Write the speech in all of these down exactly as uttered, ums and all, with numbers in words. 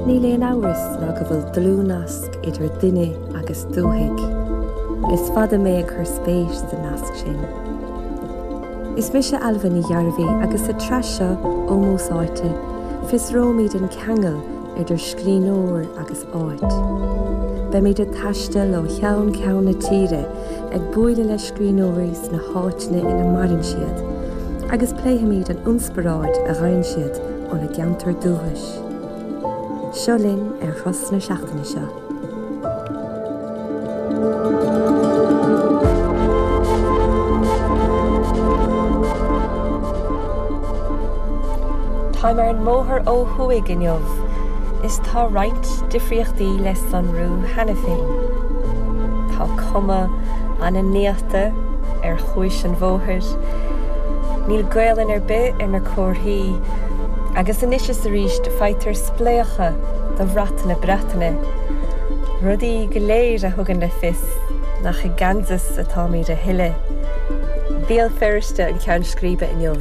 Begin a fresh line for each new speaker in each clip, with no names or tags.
Níl aon amhras ná go bhfuil dlúthnasc idir duine agus dúthaigh. Is fada mé ag cur spéis sa nasc sin. Is mise Ailbhe Ní Ghearbhuigh agus sa tsraith seo Ómós Áite, fiosróimid an ceangal idir scríbhneoir agus áit. Beimid ag taisteal ó cheann ceann na tíre ag bualadh le scríbhneoirí sna háiteanna ina maireann siad, agus pléifimid an inspioráid a fhaigheann siad óna gceantar dúchais. Seo linn ar thuras na seachtaine seo. Táim ar an mbóthar ó thuaidh inniu is tá roinnt difríochtaí le sonrú cheana féin. Tá cuma an-néata ar chuas an bhóthair, níl Gaelainn ar bith ar na comharthaí agus anois is arís faightear spléachadh de bhrat na Breataine, rudaí go léir a thugann le fios nach i gCansas atáimid a thuilleadh. Béal Feirste an ceann scríbe inniu,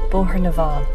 Bóthar na bhFál.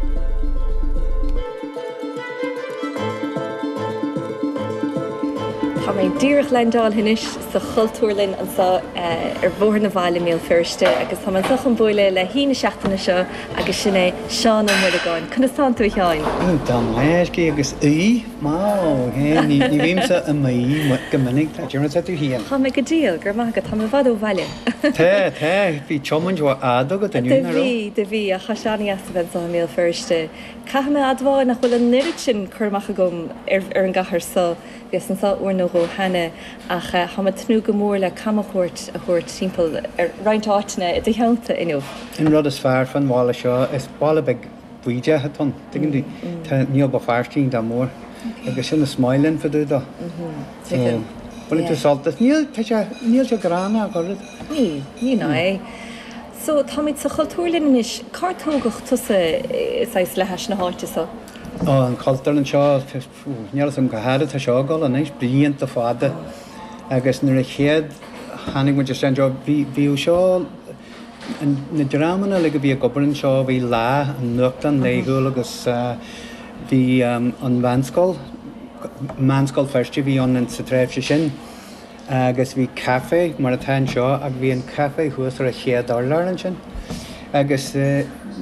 Tá mé díreach leaindeáilte anois sa Chultúrlann anseo ar Bhóthar na bhFál i mBéal Feirste agus tá mé anseo chun bualadh le haoi na seachtaine seo agus sin é Seán Ó Muireagáin. Conas tánn tú a Sheáin?
Tá maith agus aoi maith ní bhímse i m'aoi go minic tá déarfaidh tú féin.
Tá mé go diail, go raibh maith agat, tá mé i bhfad ó bhaile.
Tá, tá, bhí tiomáint fhada agat inniu, nach raibh?
Do bhí, do bhí, ach tá sé an-deas a bheith anseo i mBéal Feirste. Caithfidh mé a admháil nach bhfuil an oiread sin cur amach agam ar ar an gcathair so. Bhíos anseo uair nó dhó cheana ach tá mé ag tnúth go mór le camchuairt a thabhairt timpeall ar roinnt áiteanna i do theannta inniu.
An rud is fearr fán bhaile seo, is baile beag bídeach atá ann, tuigeann tú? Tá, níl Béal Feirste iontach mór agus sin is maith linn fá dtaobh dó.
Tuigim.
Baineann tú sult as. Níl, tá sé, níl sé gránna ach oiread.
Níl, ní ná é. So, táimid sa Chultúrlann anois. Cár tógadh tusa, saghas, le hais na háite so?
Ó, an Chultúrlann seo, níl a fhios agam cá fhad atá seo ag dul anois, blianta fada. Agus nuair a chéad tháinig muid isteach anseo, bhí, bhíodh seo, na dreamanna uilig a bhí ag obair anseo, bhí Lá, an nuachtán laethúil agus bhí an Mheánscoil, Meánscoil Feirste a bhí ann sa tréimhse sin. Agus bhí caife, mar atá anseo, ach bhí an caife thuas ar an chéad urlár ansin. Agus